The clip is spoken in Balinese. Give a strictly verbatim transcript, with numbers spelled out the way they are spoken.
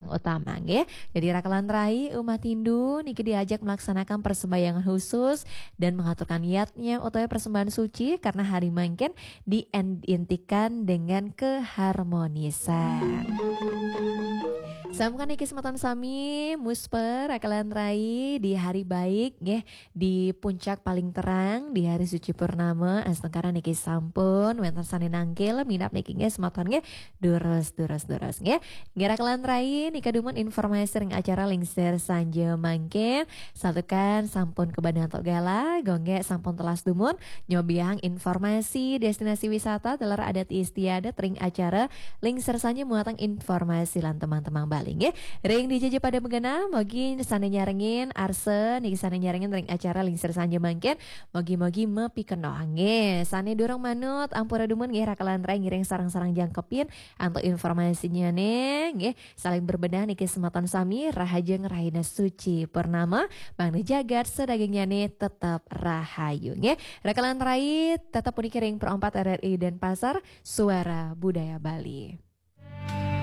utama nggih. Jadi raka lan rai umat Hindu niki diajak melaksanakan persembahyangan khusus dan mengaturkan niatnya utawi persembahan suci karena hari mangkin diidentikan dengan keharmonisan. Sampun niki semeton sami, musper raka lan rai di hari baik nggih, di puncak paling terang di hari suci purnama, astungkara niki sampun wenten sane nangkil minab niki nggih semeton nggih, durus durus durus nggih. Nggih raka lan rai, nika dumun informasi ring acara Lingsir Sanja mangkin. Santukan sampun kebadan tok gala, gongge sampun telas dumun nyobiahang informasi destinasi wisata taler adat istiadat ring acara Lingsir Sanja muatang informasi lan temang-temang Bali nggih. Ring dija ja pada magenah, mogi sane nyarengin arsa niki sane nyarengin ring acara Lingsir Sanja mangkin, mogi-mogi mapikenoh nggih. Sane durung manut ampura dumun nggih raka lan rai ngiring sareng-sareng jangkepin antuk informasinyane nggih. Saling berbenah niki semeton sami, rahajeng rahina suci purnama, mangda jagat sadagingyane tetep rahayu nggih. Raka lan rai tetep puniki ring Pro empat R R I Denpasar, Suara Budaya Bali.